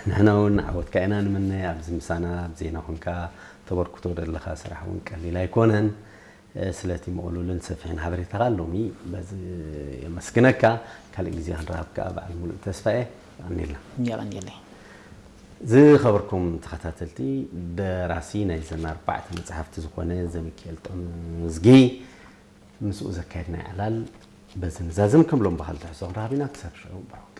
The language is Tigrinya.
ንሕና እውን ዓወትካ ኢና ንምነ። ኣብዚ ምሳና ኣብ ዜና ኮንካ ተበርክቶ ዘለኻ ስራሕ እውን ቀሊል ኣይኮነን። ስለቲ ምቕሉልን ሰፊሕን ሓበሬታኻ ሎሚ በዚ የመስግነካ። ካልእ ግዜ ክንረኸብ ከዓ በዓል ሙሉእ ተስፋ እየ። የቐንየልና። የቐንየለይ። ዝኸበርኩም ተኸታተልቲ፣ ደራሲ ናይዘን ኣርባዕተ መፅሓፍቲ ዝኾነ ዘሚካኤል ጥዑም ምዝጊ ምስኡ ዘካየድናዮ ዕላል በዚ ንዛዝም። ከም ሎም ብኻልእ ትሕዝቶ ክንረኸብ ኢና። ክሳብ ሽዑ ብሩኽ።